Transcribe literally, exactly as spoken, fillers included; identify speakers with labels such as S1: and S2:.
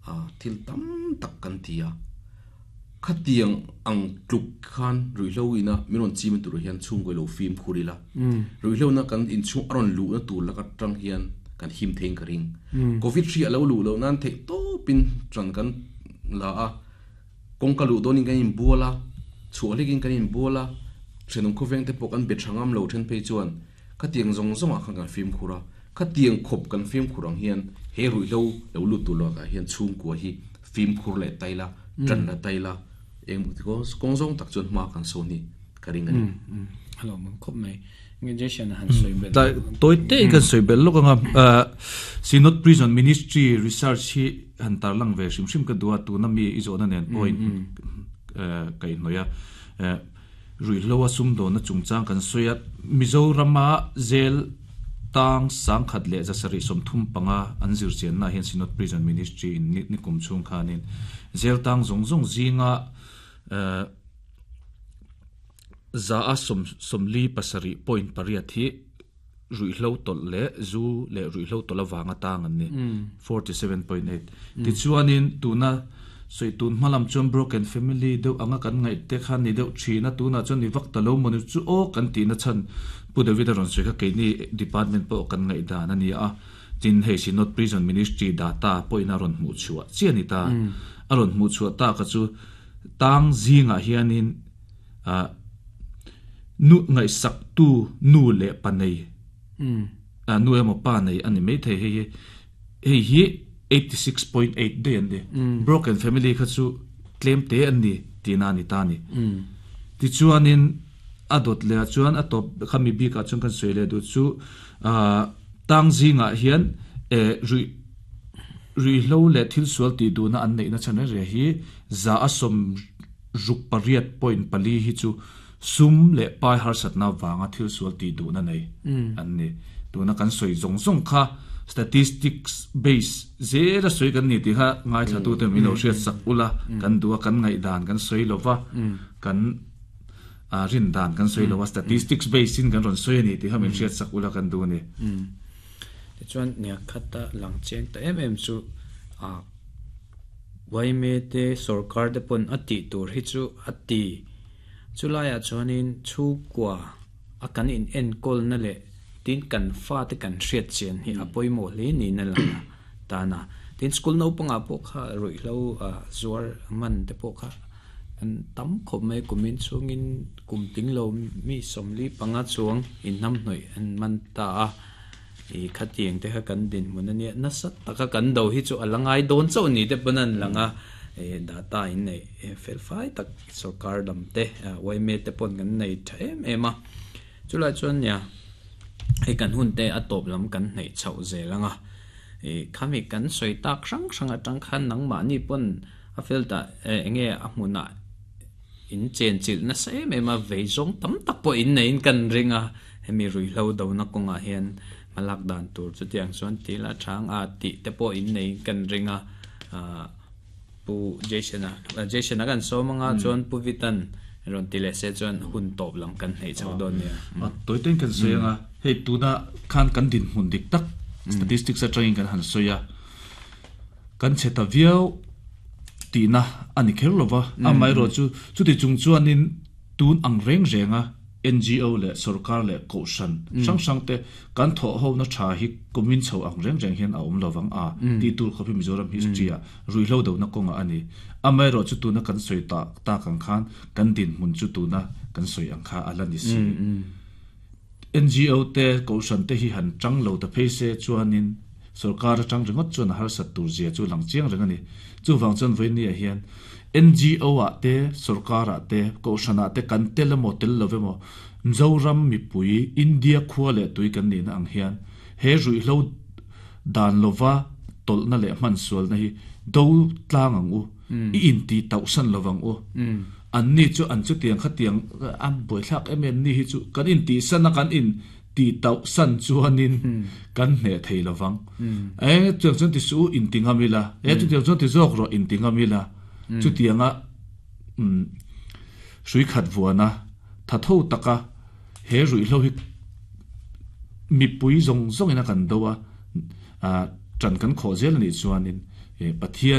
S1: A thil tam tak kan ti a. Khatiang ang tluk khan ruihhlo ina min rawn chim tur hian chhungkaw lo fim khur ila. Ruihhlo na kan inchhung a rawn luh na tur laka tang hian kan him thein ka ring. Covid hri a lo luh loh nan theih tawpin tan kan la a. Kawngka luh dawnin kan inbual a, chhuah hlekin kan inbual a, thenawm khawveng te pawh kan be tha ngam lo then phei chuan khatiang zawng zawngah khan kan fimkhur a. Khatiang khawp kan fimkhur ang hian he ruihhlo lo lut tur lakah hian chhungkua hi fimkhur leh tai la, tan la tai la, eng kawng zawng tak chuan hma kan sawn hi ka ring a ni.
S2: Hello, mang khawp mai. Nge Jason han sawi bel.
S3: Toi te kan sawi bel lawk anga Synod Prison Ministry research hi han tarlang ve hrim hrim ka duh a, tuna mi i zawhna nen pawhin ka inhnawih a. Ruihhlo a sumdawnna chungchang kan sawi a, Mizorama zel tang sangkhat leh zasarih sawmthum panga an zirchianna hian Synod Prison Ministry in ni kum chhung khanin zel tang zawng zawng zinga za a sawm sawmli pasarih point pariat hi ruihhlo tawlh leh zu leh ruihhlo tawlh avanga tang an ni, forty seven point eight. Tichuanin tuna sawi tun hma lam chuan broken family deuh anga kan ngaih te khan ni deuh thin a, tunah chuan ni vak ta lo maw ni chu aw kan tihna chhan Pu David a rawn sawi kha keini department pawh kan ngaih dan a ni a. Tin hei Synod Prison Ministry data pawhin a rawn hmuh chhuah chiah a ni ta. A rawn hmuh chhuah ta kha chu tang zingah hianin ah nu ngaihsak tu nu leh pa nei ah nu emaw pa nei a ni maithei hei hi hei hi eighty six point eight daih an ni. Broken family kha chu tlem te an ni tihna a ni ta a ni. Tichuanin a dawt leh ah chuan a tawp kha mi bikah chuan kan sawi leh duh chu ah tang zingah hian eh ruih ruihhlo leh thil sual tih duhna an neihna chhan reng reng hi za a sawm ruk pariat point pali hi chu sum leh pai harsatna vanga thil sual tih duhna nei an ni. Tuna kan sawi zawng zawng kha statistics base zela sawi kan ni tih kha ngaithlatute min lo hriat sak ula, kan duh a, kan ngaihdan kan sawi lova, kan rin dan kan sawi lova, statistics base in kan rawn sawi a ni tih kha min hriat sak ula kan duh a ni.
S2: Tichuan nia khata lang chiang ta em em chu a Y M A te sarkar te pawn a tih tur hi chu a ti. Chulaiah chuanin chhungkua a kan in enkawl na leh tin kan fa te kan hriat chian hi a pawimawh hle niin a lang a tan a. Tin school naupangah pawh kha ruihhlo zuar man te pawh kha an tam khawp mai, kumin chhungin kum tling lo mi sawmli panga chuang inhnamhnawih an man ta a. I khatiang te kha kan dinhmun a nia, nasa taka kan do hi chu a la ngai dawn chauh ni te pawn an lang a. Data in nei fel fai tak sarkar lam te Y M A te pawn kan nei tha em em a. Chulai chuan nia hei kan hun te a tawp lam kan hnaih chhoh zel anga. I khami kan sawi tak hrang hrang atang khan nangmahni pawn a fel ta enge a hmunah in chen chilh nasa em em a, vei zawng tam tak pawh in neiin kan ring a. Hemi ruihhlo dona kawngah hian hmalak dan tur chutiang chuan tila thang a tih te pawh in neiin kan ring a. Pu Jason a Jason a kan sawm anga chuan Pu Vitan rawn ti leh se chuan hun tawp lam kan hnaih chho dawn nia.
S3: A tawitein kan sawi anga, hei tuna khan kan dinhmun dik tak statistics atangin kan han sawi a, kan chhe ta viau tihna a ni kher lova. Amaherawh chu chuti chung chuanin tun ang reng renga N G O leh sarkar leh kohhran hrang hrang te kan thawh ho na tha hi kumin chho ang reng reng hian a awm lovang a ti tur khawp hi Mizoram history ah ruihhlo dona kawnga a ni. Amaherawh chu tuna kan sawi ta tak ang khan kan dinhmun chu tuna kan sawi ang kha a la ni si. N G O te kohhran te hi han tang lo ta phei se chuanin sarkar atang ringawt chuan a harsat tur zia chu lang chiang reng a ni. Chuwang chuan vawinia hian N G O ah te sarkar ah te kohhran ah te kan tel emaw tel lo emaw Mizoram mipui India khua leh tui kan ni na ang hian he ruihhlo dan lova tawlhna leh hman sualna hi do tlang ang u, i in ti tauh san lovang u. An ni chu an chu tiang kha tiang an buaithlak em em ni hi chu kan in ti san a, kan in ti tauh san chuanin kan hne thei lovang e. Chuang chuan ti su in ti ngamila e, chu tiang chuan ti zawk rawh in ti ngamila. Chu tianga um hrui khat vuana tha tho taka he ruihhlo hi mipui zawng zawng ina kan do a, a tran kan khaw zel ani chuanin e Pathian